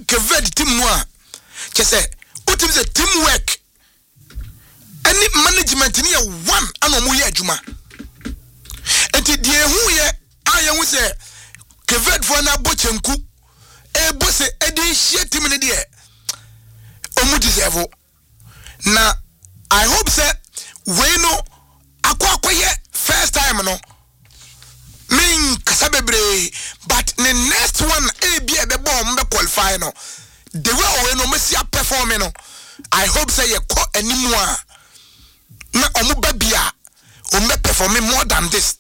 Cape Verde team no a, kyɛ sɛ wotumi sɛ team work ɛne management ne yɛ one ana ɔmo yɛ adwuma. Nti deɛ ehu yɛ a yɛhu sɛ Cape Verde foɔ no abɔ kyɛnku ɛbɔ sɛ ɛde hyia team no deɛ, ɔmo deserve. Na I hope sɛ wei no akɔ akɔyɛ first time no, menkasa bebree, but ne next one ebi a ɛbɛbɔ ɔmo bɛ qualify no, the way ɔwei no ɔmo si aperform no, I hope sɛ yɛkɔ anim a na ɔmo ba bi a ɔmo bɛ perform more than this,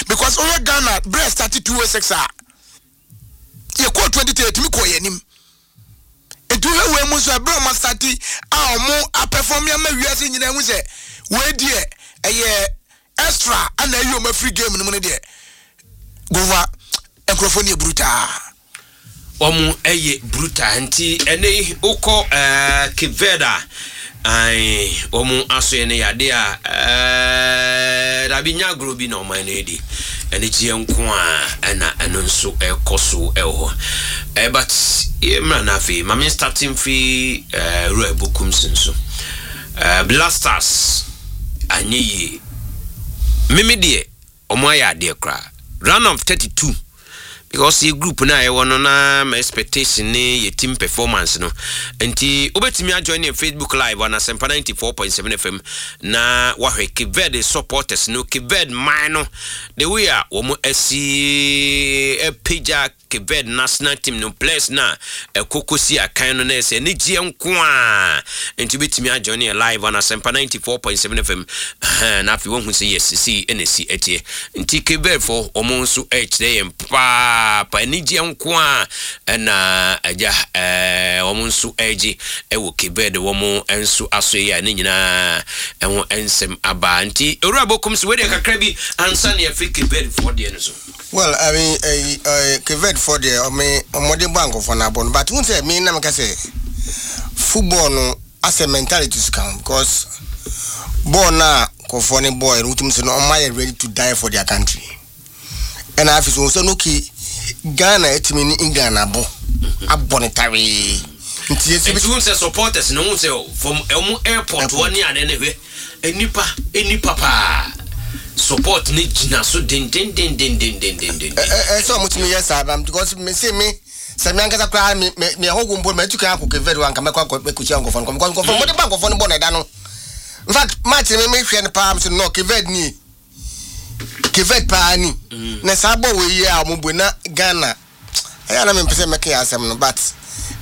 because ɔyɛ Ghana brɛ start 206 a yɛkɔɔ 2010, yɛtumi kɔɔ yɛn anim. Nti wohwɛ wei mu nso, ɛberɛ a ɔmo astart a ɔmo aperform ama wiase nyinaa hu sɛ wei deɛ ɛyɛ extra ana ayi ɔmo afiri game no mu no deɛ, gova nkurɔfoɔ no yɛ brutal. Wɔn yɛ brutal. Nti ɛnɛ yi wokɔ Cape Verde a, ae, wɔn asoɛ no yɛ adeɛ a dabi nya agorɔ bi na ɔman no redi. Anigyeɛ nko a ɛna ɛno nso ɛkɔ so ɛwɔ hɔ. But yɛ mmra no afei ma me start mfiri Wura Bokumsi nso. Black Stars anyɛ yie. Meme deɛ wɔn ayɛ adeɛ koraa. Round of 32, because yɛ group no a yɛwɔ no na my expectation ne yɛ team performance no. Nti wobɛtumi ajoin yɛn Facebook Live on Asɛmpa 94.7 FM na wahwɛ Cape Verde supporters no, Cape Verde man no, the way a wɔn asi apagya Cape Verde national team no players na ɛkɔ kɔsi akan no na ɛsɛ anigyeɛ nko a. Nti wobɛtumi ajoin yɛn live on Asɛmpa 94.7 FM na afei woahu sɛ yes, sei ɛna ɛsi ɛteɛ. Nti Cape Verde fo wɔn nso ɛrekyerɛ yɛn papaapa anigyeɛ nko a ɛna agya wɔn nso ɛregye ɛwɔ Cape Verde. Wɔn nso aso yi a ne nyinaa ɛho nsɛm aba. Nti owura Bokum so wei deɛ kakra bi ansa ne afiri Cape Verde foɔ deɛ no so. Well, I mean, Cape Verde foɔ deɛ, ɔme ɔmɔden bɔ ankɔfoɔ no abɔ no, but n sɛ me na meka sɛ football no asɛ mentality so ka ho, because bɔɔl no a nkɔfoɔ no bɔɔl no, wotumi sɛ no ɔmo ayɛ ready to die for their country. Ɛna afei so wɔn sɛ no, okay, Ghana etumi ne England abɔ ne tawee nti yɛsi. Nti wɔn sɛ supporters no, wɔn sɛ from wɔn airport wɔn ne ade ne hwɛ nipa paa support ne gyina so dendendendendendenden. Ɛ ɛ sɛ ɔmo tumi yɛ saa na because me se me sɛ me ankasa koraa me ɛhɔ mpo mɛ etu kan akɔ Cape Verde wa nka mɛkɔ akɔ mɛkɔhyia nkɔfoɔ no because nkɔfoɔ mo de ba nkɔfoɔ no bɔ na ɛda no. In fact, match me hwɛ no paa, me sɛ no, Cape Verde nie, Cape Verde paa ni na saa bɔ wɔ yi a ɔmo bɔ na Ghana ɛyɛ na mempɛ sɛ mɛka yɛ asɛm no, but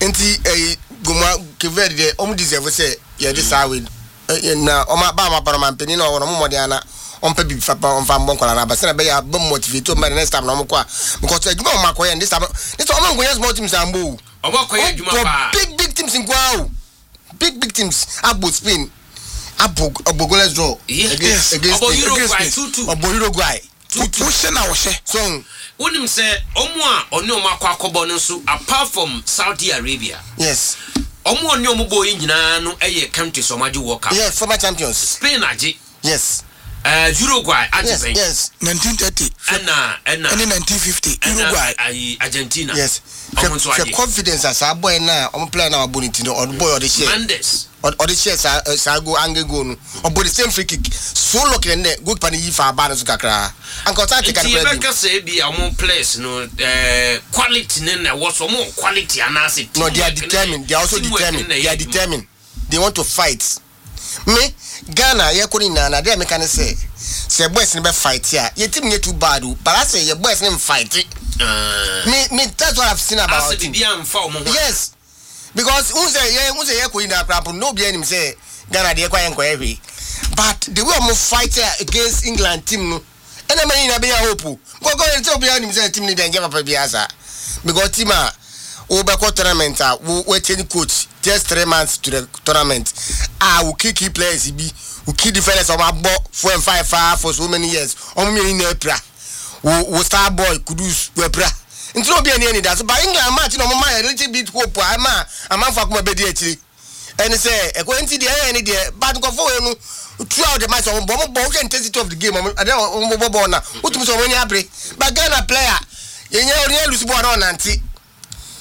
nti ɛyi gomua Cape Verde deɛ, ɔmo deserve sɛ yɛde saa wei na ɔmo aba ɔmo aba no, ɔmo mpanin na ɔwɔ no, ɔmo mmɔden ana ɔmpɛ bibi fa pa ɔmfa mbɔ nkwadaa no aba sɛnɛ ɛbɛyɛ a bɛ motivate ɔmo the next time na ɔmo kɔ a, because adwuma a ɔmo akɔyɛ no this time ɔmo nkɔyɛ small teams ambɔ o. Ɔmo akɔyɛ adwuma ɔmo paa. Bɔ big big teams nkoa o, big big teams. Abɔ Spain, abɔ goalless draw against Ɔbɔ Spain. Uruguay Against 2-2. Ɔbɔ Uruguay. 2-2. Wohyɛ na wɔhyɛ. So Wonim sɛ ɔmo a ɔne ɔmo akɔ akɔbɔ no nso, apart from Saudi Arabia, ɔmo a ɔne ɔmo bɔ yi nyinaa no yɛ countries a ɔmo agye World Cup. Yes, former champions. Spain agye. Uruguay agye bɛn. 1930 ɛna ɛne 1950 ɛna Uruguay. Ayi Argentina. Hwɛ Ɔmo nso hwɛ agye. Confidence a saa boy na ɔmo player na wabɔ ne ti no, ɔde boy ɔde hyɛ Mendes. Ɔde hyɛ saa saa goal angle goal no, ɔbɔ the same free kick so lucky na ne goalkeeper no yi fa aba no so kakra anka ɔsan te Nti kakra bi. yɛbɛka sɛ ebi a ɔmo players no quality ne na ɛwɔ so, ɔmo wɔ quality anaasɛ No, they are teamwork ne- determined. They are also teamwork ne determined. na ɛyɛ They are adwuma. determined. They want to fight. Me Ghana yɛkɔ ne nyinaa na adeɛ a meka ne sɛ boys no bɛ fight a, yɛ team nyɛ too bad o, but asɛ yɛ boys no mfight. Ah. Me that's what I've seen about our asɛ team. biribi amfa ɔmo ho. Yes, because n sɛ yɛ n sɛ yɛ kɔ nyinaa koraa mpo no, obiara nim sɛ Ghana deɛ kɔ yɛ nkɔyɛ hwee, but the way ɔmo fight against England team no, ɛna ɛma yɛn nyinaa bɛnya hope o, nkɔkɔ yɛn sɛ obiara nim sɛ team no deɛ nkyɛn papa biara saa, because team a wobɛkɔ tournament a wo change coach just 3 months to the tournament a, wo key players bi, wo key defenders a wɔn abɔ four and five faa for so many years, wɔn mmienu nyinaa apira, wo star boy Kudus wapira, nti na obi ani ani da so. But England match na wɔn ma yɛ little bit hope a ɛma amanfo akoma bɛdi akyire. Ɛne sɛ ɛkɔ nti deɛ ɛyɛ ne deɛ, but nkɔfo wei no, throughout the match ɔmo bɔ, wohwɛ intensity of the game, ɔmo adeɛ ɔmo bɔ bɔɔl na wotumi sɛ ɔmo ani abere. But Ghana player yɛnyɛ ɔnyɛ lose bɔɔl na ɔnante.